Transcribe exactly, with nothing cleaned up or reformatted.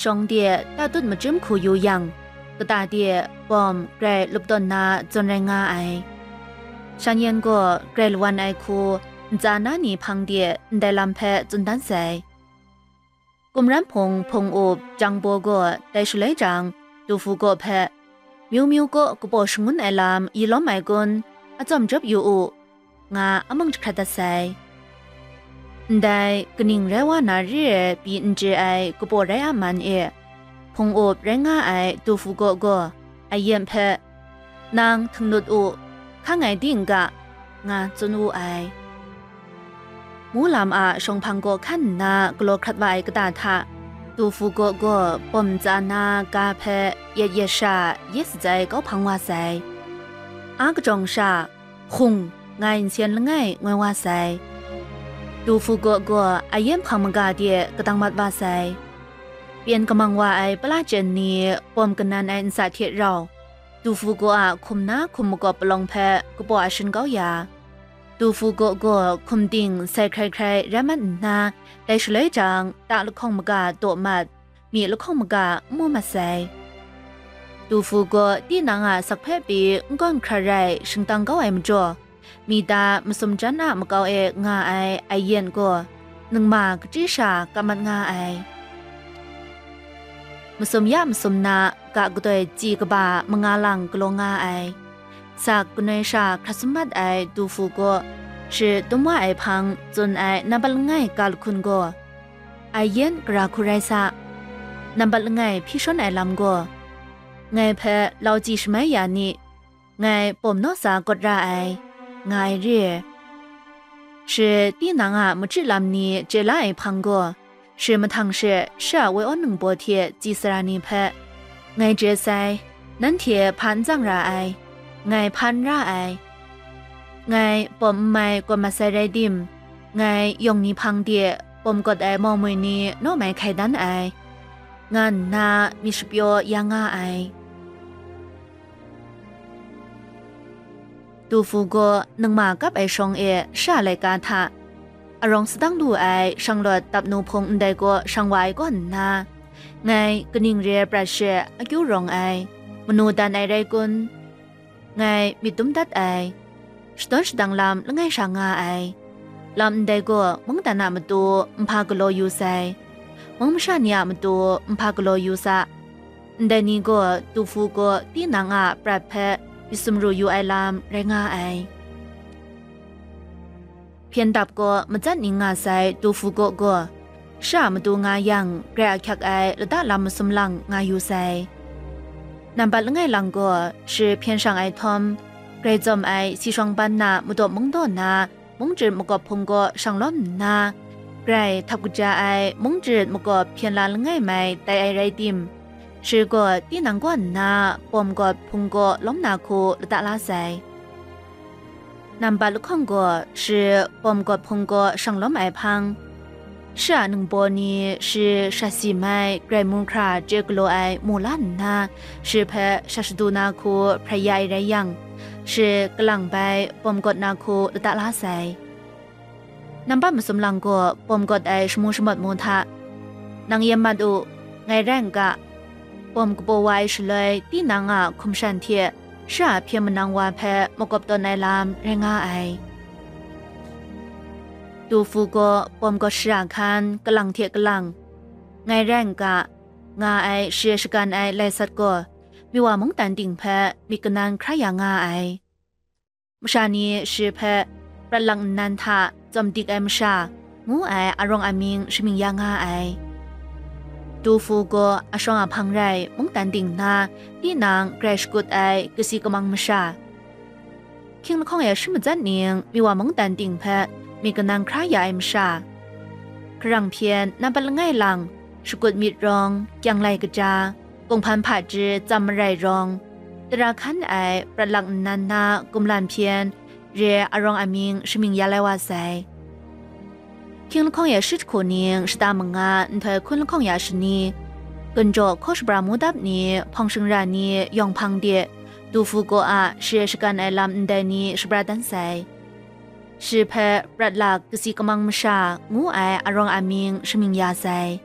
Shawng de tatut machyum hku yu yang, kata de bawm grai lup tawn na zawn rai nga ai. Shan yan gaw grai lawan ai hku ntsa na ni hpang de ndai lam hpe tsun dan sai. Kumran hpung hpung up Jang Baw gaw dai shaloi jang, Du Fu Gaw hpe, Myu myu kaw kabaw shangun ai lam yi lawm ai kun? Atsawm jawp yu u, nga amang jahkrat dat sai. Ndai kaning rai wa na re ai pyi n chye ai kabaw rai a man e, hpung up rai nga ai Du Fu Gaw gaw Ayen hpe, "Nang htinglut u, hkang ai ding ga," nga tsun wu ai. Mu lam a shawng hpang gaw hkan nna galaw hkrat wa ai kata hta, Du Fu Gaw gaw bawm ntsa na ga hpe yet yet sha yet satsai kau hpang wa sai. A kajawng sha, "Hung," nga nsen langai ngoi wa sai. Du Fu Gaw gaw Ayen hpang maga de kadang mat wa sai. Pyen kamang wa ai pala chyen ni bawm kanan ai ntsa hte rau, Du Fu Gaw a hkum na hkum makawp palawng hpe kabaw a shin kau ya, Du Fu Gaw gaw hkum ting sai hkrai hkrai rai mat nna, dai shaloi jang, ta lahkawng maga daw mat, myi lahkawng maga n mu mat sai. Du Fu Gaw tinang a sak hpe pyi n gawn hkra rai shingtang kau ai majaw, mi ta masum jan a makau e nga ai Ayen gaw ningma kachyi sha kap mat nga ai. Masum ya masum na ga kadoi tsi kaba manga lang galaw nga ai. Sak kanoi sha hkrat sum mat ai Du Fu Gaw shi dum wa ai hpang tsun ai nampat langai ga lahkun gaw, Ayen gara hku rai sa, nampat langai hpyi shawn ai lam gaw, ngai hpe lau tsi shamai ya ni, ngai bawm naw sa kawt ra ai, nga ai re. Shi tinang a machyi lam ni chye la ai hpang gaw, shi mahtang she shi a woi awn ningbaw hte tsi sara ni hpe, ngai chye sai, nanhte hpa n tsang ra ai, ngai hpa n ra ai, ngai bawm n mai kawt mat sai rai tim, ngai yawng ni hpang de bawm kawt ai mau moi ni naw mai hkai dan ai, nga nna myit shapyaw ya nga ai. Du Fu Gaw ningma kap ai shawng e sha laika hta, arawng sadang lu ai shanglawt dap nu hpung ndai gaw shang wa ai kaw nna, ngai kaning re ai prat she akyu rawng ai, manu dan ai rai kun? Ngai myit dum dat ai, shadawn shadang lam langai sha nga ai. Lam ndai gaw mungdan a matu nhpa galaw yu sai, mung masha ni a matu nhpa galaw yu sa. Ndai ni gaw Du Fu Gaw tinang a prat hpe myit sumru yu ai lam rai nga ai. Hpyen dap gaw matsat ning nga sai Du Fu Gaw gaw, sha matu nga yang, grai ahkyak ai lata lam masum lang nga yu sai. Nampat langai lang gaw, shi hpyen shang ai htawm, grai tsawm ai si shawng ban na madaw mung daw na mung jut makawp hpung gaw shang lawm nna, grai htap kaja ai mung jut makawp hpyen la langai mai tai ai rai tim, shi gaw tinang kaw nna bawm gawt hpung gaw lawm na hku lata la sai. Nambat lahkawng gaw shi bawm gawt hpung gaw shang lawm ai hpang, shi a ningbaw ni shi shat si mai grai mu hkra chye galaw ai mu la nna, shi hpe shat shadu na hku hprai ya ai rai yang, shi kalang bai bawm gawt na hku lata la sai. Nambat masum lang gaw bawm gawt ai shamu shamawt mu hta, nang yen mat u, ngai rai n ga, bawm kabaw wa ai shaloi tinang a hkum shan hte shi a hpyen manang wa hpe makawp tawn ai lam rai nga ai. Du Fu gaw bawm gawt shara hkan kalang hte kalang, ngai rai n ga, nga ai shi shagan ai lai sat gaw, miwa mungdan ting hpe myit kanan hkra ya nga ai. Masha ni shi hpe, prat lak nnan hta tsawm dik ai masha, ngu ai arawng amying shamying ya nga ai. Du Fu gaw ashawng a hpang rai mungdan ting na, tinang grai shakut ai kasi kamang masha, hkying lahkawng e shi matsat ning miwa mungdan ting hpe myit kanan hkra ya ai masha, hkarang hpyen nampat langai lang, shakut myit rawng, kyang lai kaja, kunghpan hpaji tsam marai rawng, tara hkan ai prat lak nnan na kumlan hpyen re arawng amying shamying ya lai wa sai. Hkying lahkawng ya shi jahku ning shata manga nhtoi hkun lahkawng ya shani, gunjaw hkaw shabra mu dap ni hpawng shingra ni yawng hpang de, Du Fu gaw a shi shagan ai lam ndai ni shabra dan sai. Shi hpe prat lak kasi kamang masha ngu ai arawng amying shamying ya sai.